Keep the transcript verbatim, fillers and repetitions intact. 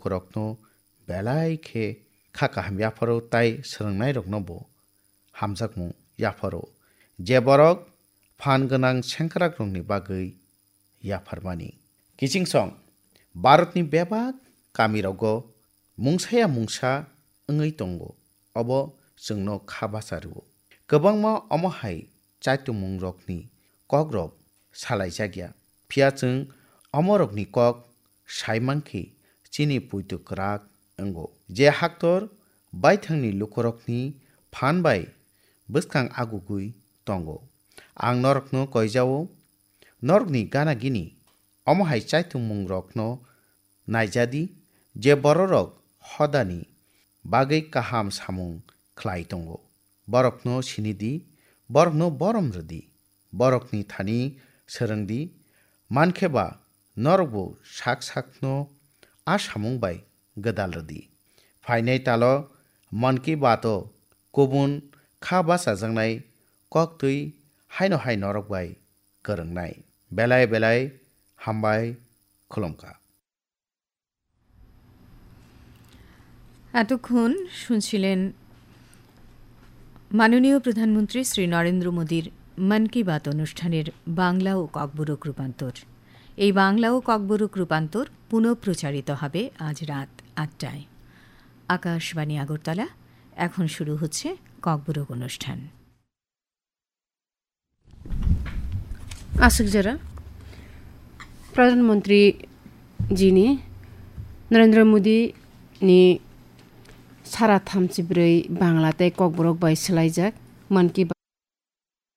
lukurokno belai khe kha kaham yapharo tai swrwngnairokno bo hamjakmung yapharo, je borok phan gwnang sengkrakrokni bagwi yapharmani. Kichingsong, Bharatni bebak kamirogo mungsaya mungsa wngwi tongo, obo chwngno kha bacha rwo. Kwbangma omo hai chaitungmungrokni kokrok salaijakya, phiya chwng omorokni kok saimankhe chini puitu kwrak wngo, je haktor baithangni lukurokni phan bai bwskang agugwi tongo. Ang norokno koijao, norokni gana gini omo hai chaitungmungrokno naijadi, je bororok hodani bagwi kaham samung khlai tongo. Borokno sinidi, borokno borom rwdi, borokni thani swrwngdi, mankhe ba norokbo sak sakno a samung bai gwdal rwdi. Phainai talo Mann Ki Baat o kubun kha bachajaknai koktwi haino hai norok bai kwrwngnai. Belai belai hambai khulumkha. এতক্ষণ শুনছিলেন মাননীয় প্রধানমন্ত্রী শ্রী নরেন্দ্র মোদীর মন কি বাত অনুষ্ঠানের বাংলা ও ককবরক রূপান্তর। এই বাংলা ও ককবরক রূপান্তর পুনঃপ্রচারিত হবে আজ রাত আটটায়। আকাশবাণী আগরতলা, এখন শুরু হচ্ছে ককবরক অনুষ্ঠান। Aswk jora, Pradhan Mantri jini Narendra Modi ni sara thamchi bwrwi Bangla tei Kokborok bai swlaijak Mann Ki